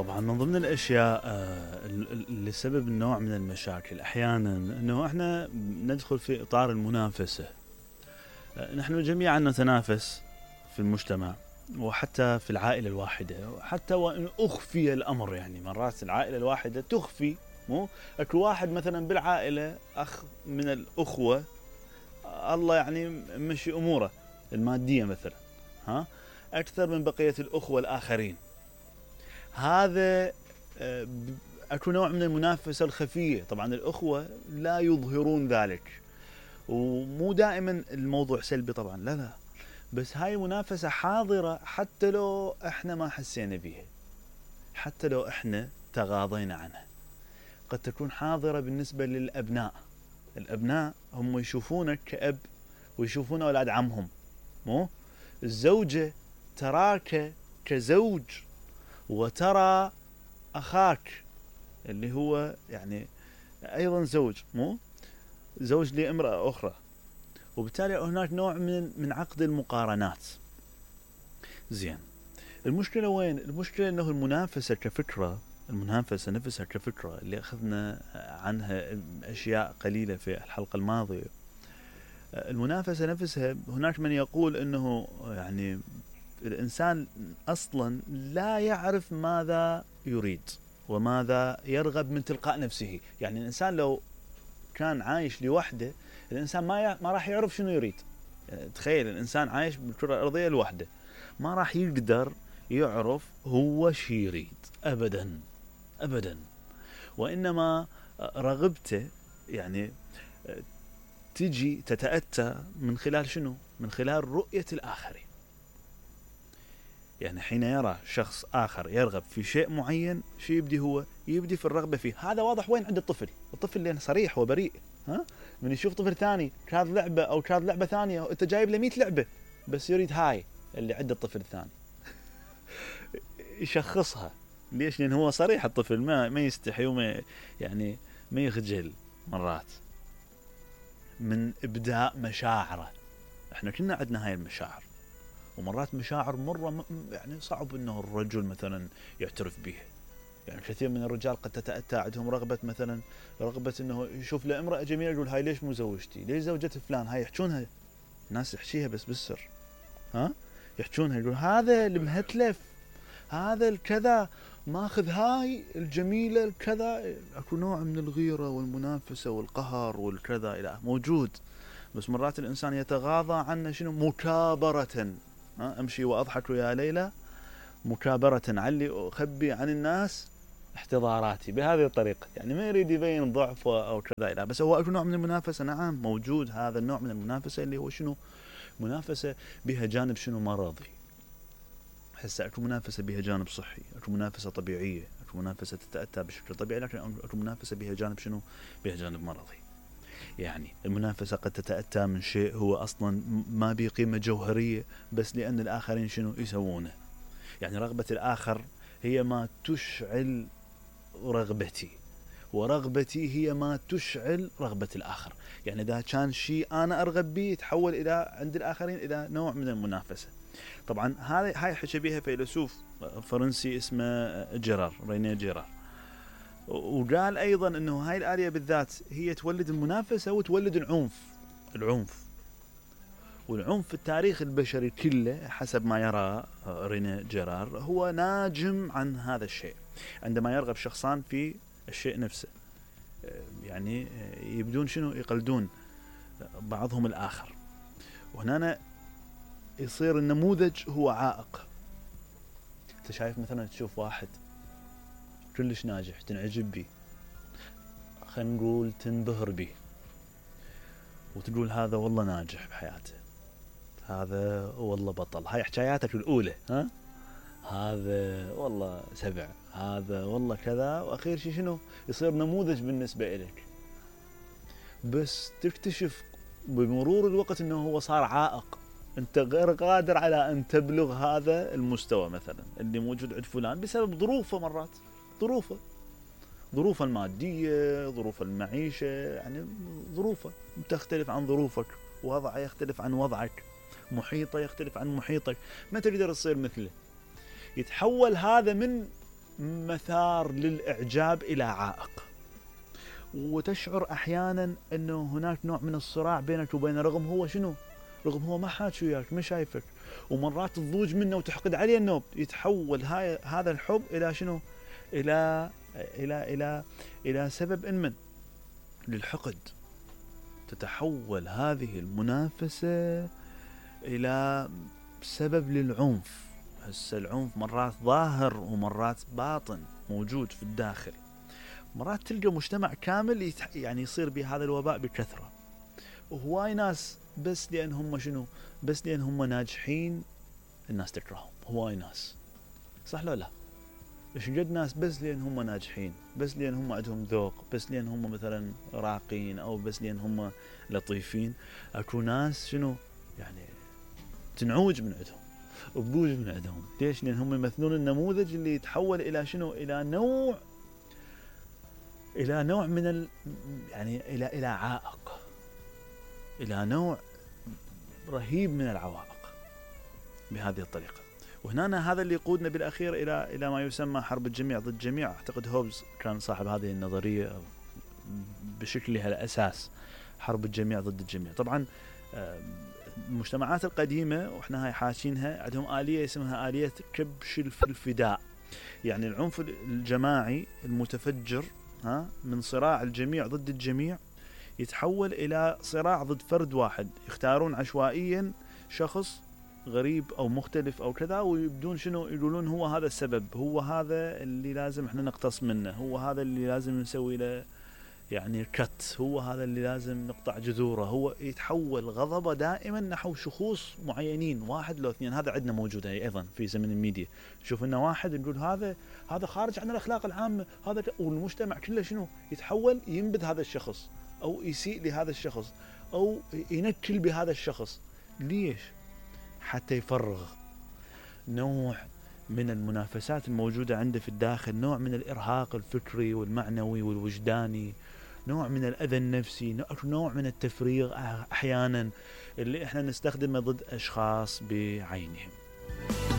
طبعا من ضمن الاشياء اللي سبب النوع من المشاكل احيانا انه احنا ندخل في اطار المنافسه. نحن جميعا نتنافس في المجتمع وحتى في العائله الواحده، وحتى وان اخفي الامر، يعني مرات العائله الواحده تخفي، مو اكو واحد مثلا بالعائله اخ من الاخوه الله يعني مشي اموره الماديه مثلا اكثر من بقيه الاخوه الاخرين. هذا اكو نوع من المنافسه الخفيه. طبعا الاخوه لا يظهرون ذلك، ومو دائما الموضوع سلبي طبعا، لا، بس هاي منافسه حاضره حتى لو احنا ما حسينا بيها، حتى لو احنا تغاضينا عنها. قد تكون حاضره بالنسبه للابناء. الابناء هم يشوفونك كأب ويشوفون اولاد عمهم، مو الزوجه تراك كزوج وترى أخاك اللي هو يعني أيضا زوج، مو زوج لامرأة أخرى، وبالتالي هناك نوع من عقد المقارنات. زين، المشكلة وين؟ المشكلة أنه المنافسة كفكرة، المنافسة نفسها كفكرة اللي أخذنا عنها أشياء قليلة في الحلقة الماضية. المنافسة نفسها هناك من يقول أنه يعني الإنسان أصلا لا يعرف ماذا يريد وماذا يرغب من تلقاء نفسه. يعني الإنسان لو كان عايش لوحده، الإنسان ما راح يعرف شنو يريد. يعني تخيل الإنسان عايش بالكرة الأرضية لوحده، ما راح يقدر يعرف هو شي يريد أبدا أبدا. وإنما رغبته يعني تجي تتأتى من خلال شنو؟ من خلال رؤية الآخرين. يعني حين يرى شخص آخر يرغب في شيء معين، شو يبدي؟ هو يبدي في الرغبة فيه. هذا واضح وين؟ عند الطفل اللي صريح وبريء. من يشوف طفل ثاني كاد لعبة أو كاد لعبة ثانية، أنت جايب له 100 لعبة بس يريد هاي اللي عند الطفل الثاني. يشخصها. ليش؟ لأن هو صريح الطفل، ما يستحي وما يعني ما يخجل مرات من إبداء مشاعره. احنا كنا عندنا هاي المشاعر، ومرات مشاعر مرة يعني صعب انه الرجل مثلا يعترف بها. يعني كثير من الرجال قد تتأتى عندهم رغبة، مثلا رغبة انه يشوف له امرأة جميلة يقول هاي ليش مو زوجتي؟ ليش زوجة فلان؟ هاي يحجونها ناس، يحشيها بس بالسر، يحجونها، يقول هذا المهتلف، هذا الكذا، ماخذ هاي الجميلة الكذا. اكو نوع من الغيرة والمنافسة والقهر والكذا الى موجود. بس مرات الانسان يتغاضى عنه، شنو؟ مكابرة. امشي واضحك يا ليلى مكابرة، علي اخبي عن الناس احتضاراتي بهذه الطريقة. يعني ما يريد يبين ضعفه او كذا الى، بس هو اكو نوع من المنافسة. نعم موجود هذا النوع من المنافسة اللي هو شنو؟ منافسة بها جانب شنو؟ مرضي. هسه اكو منافسة بها جانب صحي، اكو منافسة طبيعية، اكو منافسة تتأتى بشكل طبيعي، لكن اكو منافسة بها جانب شنو؟ بها جانب مرضي. يعني المنافسة قد تتأتى من شيء هو أصلا ما به قيمة جوهرية، بس لأن الآخرين شنو يسوونه. يعني رغبة الآخر هي ما تشعل رغبتي، ورغبتي هي ما تشعل رغبة الآخر. يعني إذا كان شيء أنا أرغب به يتحول إلى عند الآخرين إلى نوع من المنافسة. طبعا هاي حكى بها فيلسوف فرنسي اسمه رينيه جيرار، وقال أيضا أنه هاي الآلية بالذات هي تولد المنافسة وتولد العنف. والعنف في التاريخ البشري كله حسب ما يرى رينيه جيرار هو ناجم عن هذا الشيء. عندما يرغب شخصان في الشيء نفسه، يعني يبدون شنو؟ يقلدون بعضهم الآخر، وهنا يصير النموذج هو عائق. انت شايف مثلا تشوف واحد كلش ناجح تنعجب به، خلينا نقول تنبهر به، وتقول هذا والله ناجح بحياته، هذا والله بطل، هاي حكاياتك الأولى، هذا والله سبع، هذا والله كذا، وأخير شيء شنو؟ يصير نموذج بالنسبة إليك. بس تكتشف بمرور الوقت أنه هو صار عائق. أنت غير قادر على أن تبلغ هذا المستوى مثلا اللي موجود عند فلان بسبب ظروفه. مرات ظروفه المادية، ظروف المعيشة، يعني ظروفه تختلف عن ظروفك، وضعه يختلف عن وضعك، محيطه يختلف عن محيطك، ما تقدر تصير مثله. يتحول هذا من مثار للإعجاب إلى عائق، وتشعر أحيانا أنه هناك نوع من الصراع بينك وبينه، رغم هو شنو؟ رغم هو ما حاكي وياك، ما شايفك، ومرات تضوج منه وتحقد عليه النوب. يتحول هذا الحب إلى شنو؟ إلى إلى إلى إلى سبب من للحقد. تتحول هذه المنافسة إلى سبب للعنف. هسه العنف مرات ظاهر ومرات باطن موجود في الداخل. مرات تلقى مجتمع كامل يعني يصير بهذا الوباء بكثرة، وهواي ناس بس لأن هم شنو؟ بس لأن هم ناجحين الناس تكرههم. هواي ناس، صح لو لا؟ ايش قد ناس بس لأن هم ناجحين، بس لأن هم عندهم ذوق، بس لأن هم مثلا راقين، أو بس لأن هم لطيفين. أكو ناس شنو يعني تنعوج من عندهم وبوج من عندهم. ليش؟ لأن هم يمثلون النموذج اللي يتحول إلى شنو؟ إلى نوع من يعني إلى عائق، إلى نوع رهيب من العوائق بهذه الطريقة. وهنا هذا اللي يقودنا بالأخير إلى ما يسمى حرب الجميع ضد الجميع. أعتقد هوبز كان صاحب هذه النظرية بشكلها الأساس، حرب الجميع ضد الجميع. طبعا المجتمعات القديمة وإحنا هاي حاشينها عندهم آلية اسمها آلية كبش الفداء، يعني العنف الجماعي المتفجر من صراع الجميع ضد الجميع يتحول إلى صراع ضد فرد واحد. يختارون عشوائيا شخص غريب أو مختلف أو كذا، ويبدون شنو يقولون هو هذا السبب، هو هذا اللي لازم احنا نقتص منه، هو هذا اللي لازم نسوي له يعني كت، هو هذا اللي لازم نقطع جذوره. هو يتحول غضبه دائما نحو شخوص معينين، واحد لو اثنين. هذا عندنا موجود أيضا في زمن الميديا. شوف إنه واحد نقول هذا خارج عن الأخلاق العامة، هذا والمجتمع كله شنو يتحول ينبذ هذا الشخص، أو يسيء لهذا الشخص، أو ينكل بهذا الشخص. ليش؟ حتى يفرغ نوع من المنافسات الموجودة عنده في الداخل، نوع من الإرهاق الفكري والمعنوي والوجداني، نوع من الأذى النفسي، نوع من التفريغ أحيانا اللي احنا نستخدمه ضد أشخاص بعينهم.